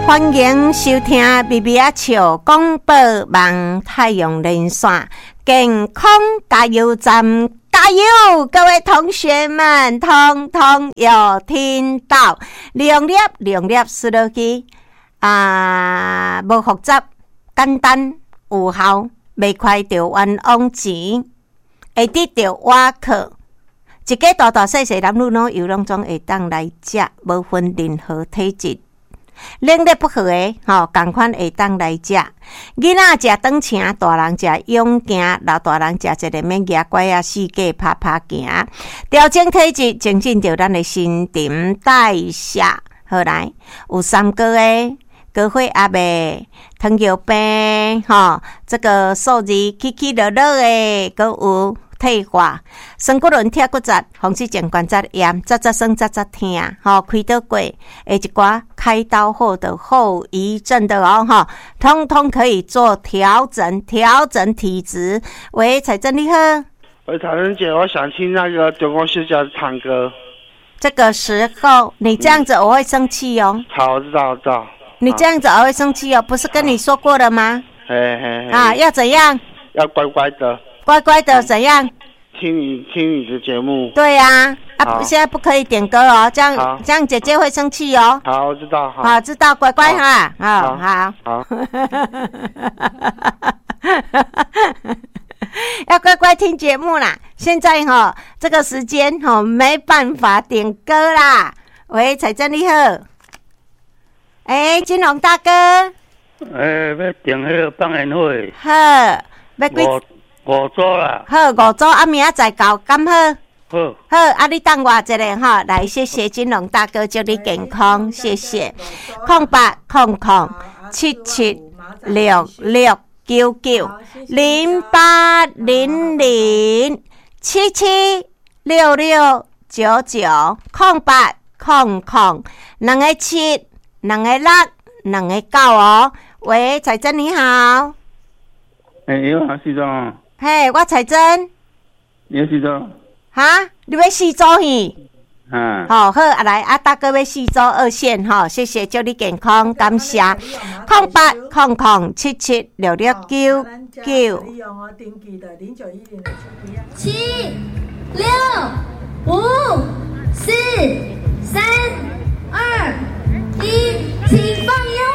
歡迎收聽微微仔笑廣播網太陽連線健康加油站，加油！各位同學們，通通有聽到？兩粒兩粒斯落去啊，無複雜，簡單有效，袂開著冤枉錢，會得著瓦克。一家大大細細男女老幼攏總會當來食，無分任何體質。兩肋不和的吼，仝款會當來食。囡仔食長城，大人食勇健，老大人食一个免蜈拐仔四界拍拍行，調整體質，增進著咱的新陳代謝。好來，有三高的、高血壓的、糖尿病，吼，這個數字起起落落的，閣有退化、酸骨輪、拆骨折、風濕性關節炎、節節酸、節節疼，吼，開刀過，的一寡開刀後的後遺症的哦，吼，通通可以做調整，調整體質。喂，彩珍你好。喂，彩珍姐，我想聽那個中國小姐唱歌。這個時候你這樣子我會生氣哦。好，我知道，我知道。你這樣子我會生氣哦，不是跟你說過了嗎？嘿嘿嘿。啊，要怎樣？要乖乖的。乖乖的怎樣？聽你的節目。對呀，啊，現在不可以點歌哦，這樣這樣姐姐會生氣哦。好，我知道。好，知道，乖乖哈，好好。好。要乖乖聽節目啦！現在哈，這個時間哈，沒辦法點歌啦。喂，彩珍你好。欸，金龍大哥。欸，欲訂彼个放煙火。好，欲幾？五組啦。好，五組啊，明仔載到，敢好？好。好，啊，你等我一下吼，來，謝謝金龍大哥，祝你健康，謝謝。080077669908007766990800776699哦。喂，彩珍你好。欸，你好，徐總。嘿，我彩珍。你要四組？哈？你欲四組去？嗯。好，好，啊來，啊大哥欲四組二線吼，謝謝，祝你健康，感謝。0800776699。七、六、五、四、三、二、一，請放煙火。